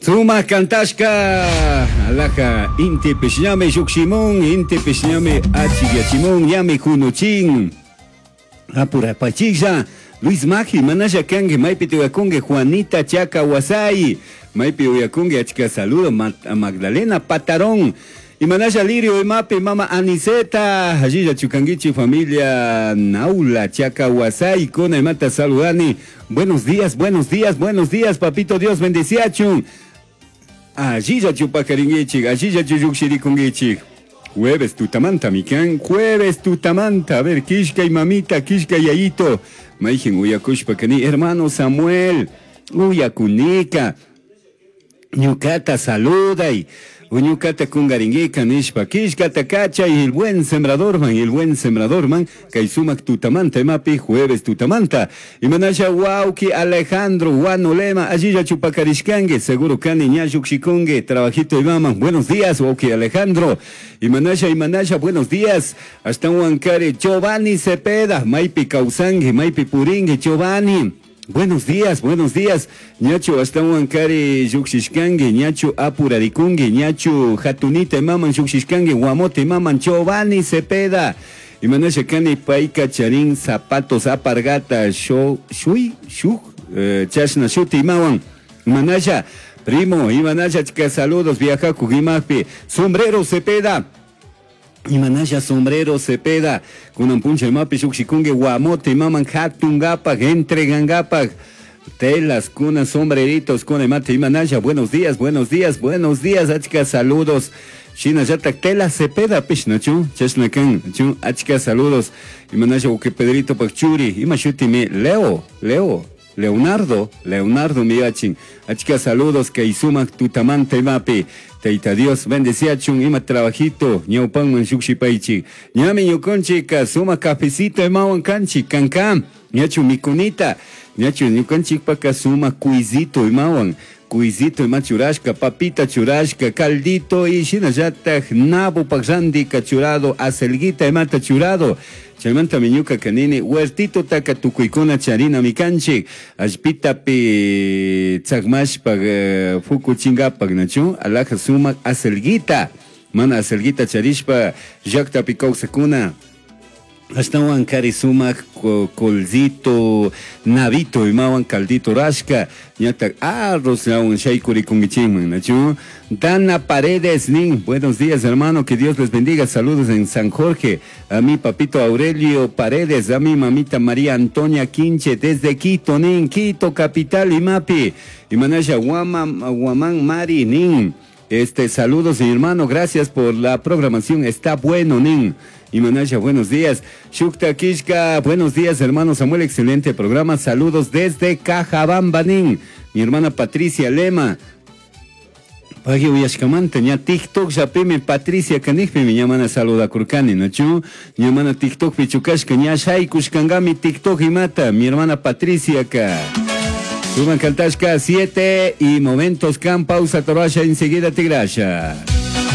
Sumak cantashka alhaja intipish ñami llukshimun, intipish ñami achikyachimun, ñami kunuchin. Apurapachilla, Luis Maji, manalla kanki, maypi tiyakunki, Juanita Chaca Wasay, maypi uyakunki, achka saludo, Magdalena Patarón. Imanalla Lirio imapi, mama Aniceta, allilla chukankichi familia Naula Chaca Wasay, kuna imata saludani. Buenos días, buenos días, buenos días, papito Dios bendeciachun. Allilla chupakarinkichik, allilla lluqshirikunkichik. Jueves tutamanta, mikan, jueves tutamanta. A ver, kishkay mamita, kishkay yayito. Mayjin uyakushpa kani, hermano Samuel, uyakunika. Ñukata saluday. Ñukata kungaringuika nishpa kishkata kachay el buen sembradorman, el buen sembradorman, kay sumak tutamanta imapi jueves tutamanta. Imanasha wauki Alejandro Guanolema, allilla chupakarishkangue, seguro kani ña llukshikungue, trabajito imaman. Buenos días, wauki Alejandro. Imanasha, imanasha, buenos días. Hasta Huancare, Giovanni Cepeda, maypi kawsangue, maypi puringue, Giovanni. Buenos días, buenos días. Ñachu ashtahuankari llukshishkanki, ñachu apurarikunki, ñachu hatunita imaman llukshishkanki, guamote imaman Giovanni Cepeda. Imanasha kani payka charin zapatos apargata shui, shuk, chashna shuti imawan. Imanasha, primo, imanasha chika saludos viajaku imajpi. Sombrero Cepeda. Imanasha sombrero Cepeda, kunan puncha imapi llukshikunki guamote imaman hatungapak, entregangapak, telas, kuna sombreritos, kuna imate imanasha, buenos días, buenos días, buenos días, achka saludos. Shinallatak tela Cepeda pish, nachu, chashna kan, chu, achka saludos. Imanasha uke Pedrito pak churi, ima shutimi, Leo, Leo, Leonardo, Leonardo miyachin. Achka saludos kay sumak tutamanta imapi. Tayta Dios bendeciachun ima trabajito ñawpanman llukshipaychik. Ñami ñukanchika sumak cafecito imawan kanchik kanka. Ñachu mikunita. Ñachu ñukanchikpaka sumak cuisito imawan. Cuisito ima churashka, papita churashka, caldito y shinallatak nabo randika churado, acelguita imata churado. Chaymanta ñuka kanini huertito taka tukuykuna charina mikanchik allpitapi tsakmashpa fukuchingapak nachu alhaja sumak acelguita mana acelguita charishpa llaktapi kawsakuna ashtawan kari sumak colcito nabito imawan caldito rashka ñatak arroz awan shaykurikunkichikman nachu. Dana Paredes nin, buenos días hermano, que Dios les bendiga, saludos en San Jorge, a mi papito Aurelio Paredes, a mi mamita María Antonia Quinche, desde Quito, nin, Quito capital imapi, imanasha Guamán Mari nin, saludos mi hermano, gracias por la programación, está bueno nin. Imanasha, buenos días. Shukta Kishka, buenos días, hermano Samuel, excelente programa. Saludos desde Cajabamba, nin. Mi hermana Patricia Lema. Pagui uyashkamanta, ña TikTok llapimi Patricia kanijpimi ña mana saludakurkani, ¿no chu? Ña mana TikTokpi chukashka, ña shaykushkankami TikTok imata, mi hermana Patricia ka. Suman kantashka 7 y momentos kan pausa torasha enseguida tigrasha.